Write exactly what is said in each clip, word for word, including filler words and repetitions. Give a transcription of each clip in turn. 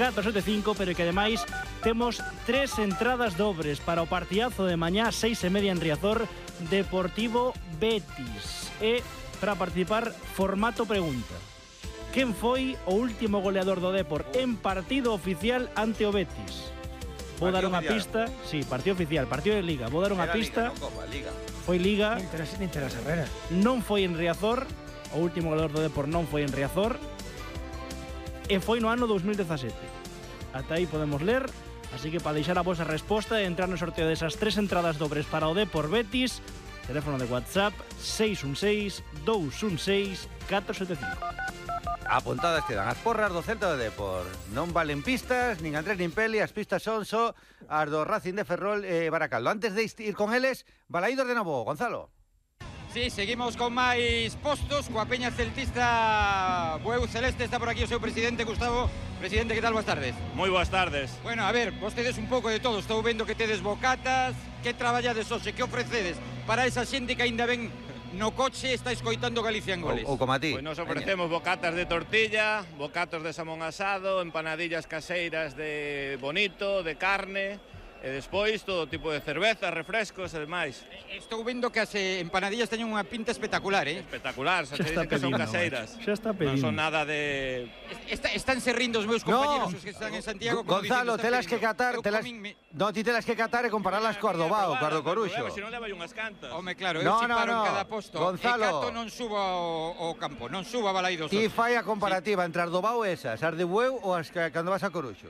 catro sete cinco, pero que ademais temos tres entradas dobres para o partidazo de mañá, seis e media en Riazor, Deportivo Betis. E para participar, formato pregunta. Quen foi o último goleador do Depor en partido oficial ante o Betis? Vou dar unha pista. Sí, partido oficial, partido de Liga. Vou dar unha pista. Foi Liga. Nin Terás Herrera. Non foi en Riazor. O último goleador do Depor non foi en Riazor. E foi no ano dous mil dezasete. Ata aí podemos ler. Así que para deixar a vosa resposta e entrar no sorteo desas tres entradas dobres para o Depor Betis, teléfono de WhatsApp seis un seis, dous un seis, catro sete cinco. Apuntadas quedan as porras do Celta de Depor. Non valen pistas, nin Andrés nin Peli. As pistas son só as do Racing de Ferrol e Baracaldo. Antes de ir con eles, balaídos de novo, Gonzalo. Sí, seguimos con máis postos coa peña celtista Bueu Celeste. Está por aquí o seu presidente, Gustavo. Presidente, que tal? Boas tardes. Moi boas tardes. Bueno, a ver, vostedes un pouco de todo. Estou vendo que tedes bocatas. Que traballades hoxe? Que ofrecedes para esa xente que ainda ven no coche está escoitando Galicia en Goles? Ou como a ti. Pois nos ofrecemos bocatas de tortilla, bocatos de samón asado, empanadillas caseiras de bonito, de carne, e despois todo tipo de cerveza, refrescos e demais. Estou vendo que as empanadillas teñen unha pinta espectacular, eh? Espectacular, xa te dicen que son caseiras. Xa está pedindo. Non son nada de... Está, están se rindo os meus compañeros, no, os que están en Santiago. Gonzalo, telas que catar, telas... Me... No, ti telas que catar e comparalas co Ardobao, co Ardo Coruxo. Se non leva unhas cantas. Home, claro, eu no, chiparo no, no. en cada posto. Gonzalo, e cato non suba ao, ao campo, non suba a Balaidos. Ti fai a comparativa sí. entre Ardobao e esas, as de Bueu ou as que cando vas a Coruxo.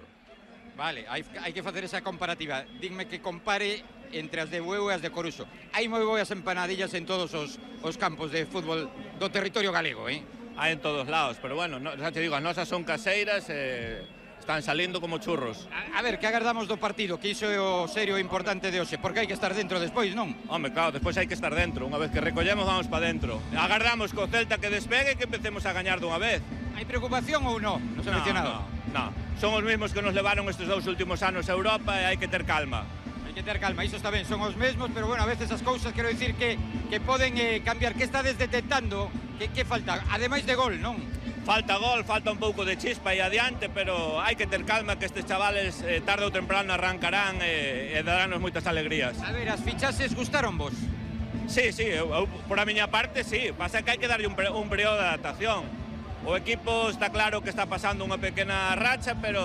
Vale, hai, hai que facer esa comparativa. Dime que compare entre as de Bueu e as de Coruxo. Hai moi boas empanadillas en todos os, os campos de fútbol do territorio galego, eh? Hai en todos lados, pero bueno, no, xa te digo, as nosas son caseiras e eh, están salindo como churros. A, a ver, que agardamos do partido, que iso é o serio e importante de hoxe, porque hai que estar dentro despois, non? Home, claro, despois hai que estar dentro. Unha vez que recollemos, vamos para dentro. Agardamos co Celta que despegue e que empecemos a gañar dunha vez. Hai preocupación ou non? No seleccionado? No, no, no. Son os mesmos que nos levaron estes dous últimos anos a Europa e hai que ter calma. Hai que ter calma, iso está ben, son os mesmos, pero bueno, a veces as cousas, quero dicir que, que poden eh, cambiar. Que estades detectando? Que, que falta? Ademais de gol, non? Falta gol, falta un pouco de chispa aí adiante, pero hai que ter calma que estes chavales eh, tarde ou temprano arrancarán e, e daránnos moitas alegrías. A ver, as fichases gustaron vos? Sí, sí, eu, eu, por a miña parte, sí. Pasa que hai que darlle un, un período de adaptación. O equipo está claro que está pasando unha pequena racha, pero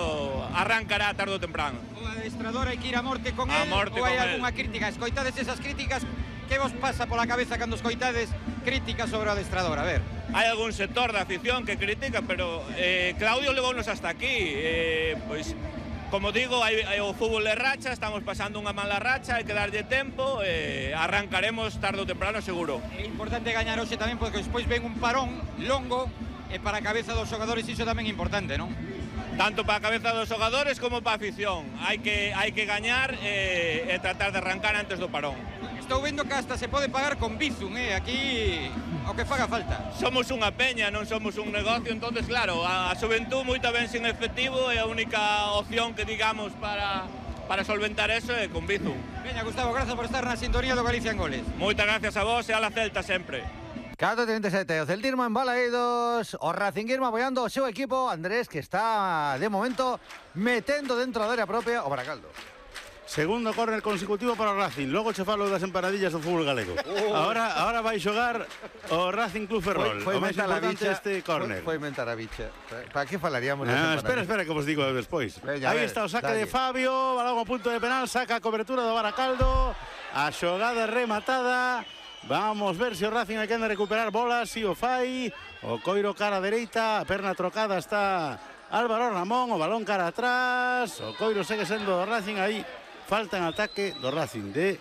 arrancará tarde ou temprano. O adestrador hai que ir a morte con a el morte ou hai con algunha él. crítica? Escoitades esas críticas? Que vos pasa pola cabeza cando escoitades críticas sobre o adestrador? A ver. Hai algún sector da afición que critica, pero eh, Claudio levounos hasta aquí. Eh, pois, como digo, hai, hai o fútbol de racha, estamos pasando unha mala racha, hai que darlle tempo, eh, arrancaremos tarde ou temprano seguro. É importante gañar hoxe tamén, porque despois ven un parón longo, e para a cabeza dos xogadores iso tamén é importante, non? Tanto para a cabeza dos xogadores como para a afición. Hai que, hai que gañar e, e tratar de arrancar antes do parón. Estou vendo que hasta se pode pagar con Bizum, eh? Aquí o que faga falta. Somos unha peña, non somos un negocio, entonces claro, a, a xuventud moita ben sin efectivo e a única opción que digamos para, para solventar eso é con Bizum. Veña, Gustavo, gracias por estar na sintonía do Galicia en Goles. Moitas gracias a vos e a la Celta sempre. catro trinta e sete, o Celtismo en Balaídos, o Racinguismo apoiando o seu equipo, Andrés, que está de momento metendo dentro da área propia o Baracaldo. Segundo córner consecutivo para o Racing. Logo che falo das empanadillas do fútbol galego. Oh. Ahora ahora vai xogar o Racing Club Ferrol. Foi, foi o máis importante bicha, este córner. Foi, foi mentar a bicha. Para que falaríamos das ah, empanadillas? Espera, espera que vos digo despois. Veña, Aí ver, está o saque dalle. de Fabio, balón a punto de penal, saca a cobertura do Baracaldo. A xogada rematada. Vamos ver se o Racing hai que anda a recuperar bolas, si o fai. O coiro cara a dereita, a perna trocada está Álvaro Ramón, o balón cara atrás. O coiro segue sendo do Racing aí. Falta en ataque do Racing de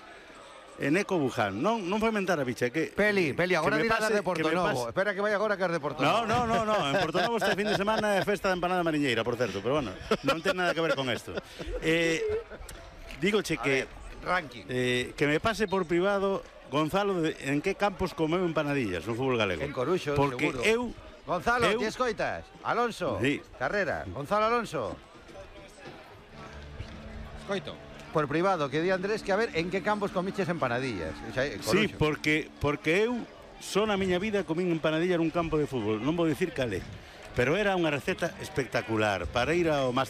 Eneco Buján. Non, non foi mentar a bicha que Peli, Peli, agora dirás pase, de Portonovo. Espera que vai agora que as de Portonovo. No, no, no, no, en Portonovo este fin de semana é festa de empanada mariñeira, por certo, pero bueno, non ten nada que ver con isto. Eh, dígoche que ver, ranking. Eh, que me pase por privado Gonzalo de, en que campos comeu empanadillas no fútbol galego. En Coruxo, porque seguro. eu Gonzalo, eu, ti escoitas? Alonso, sí. Carrera, Gonzalo Alonso. Escoito. Por privado, que di Andrés que a ver en que campos comiches empanadillas. O sea, sí, porque porque eu só na miña vida comín empanadilla nun campo de fútbol, non vou dicir calé, pero era unha receta espectacular para ir ao Master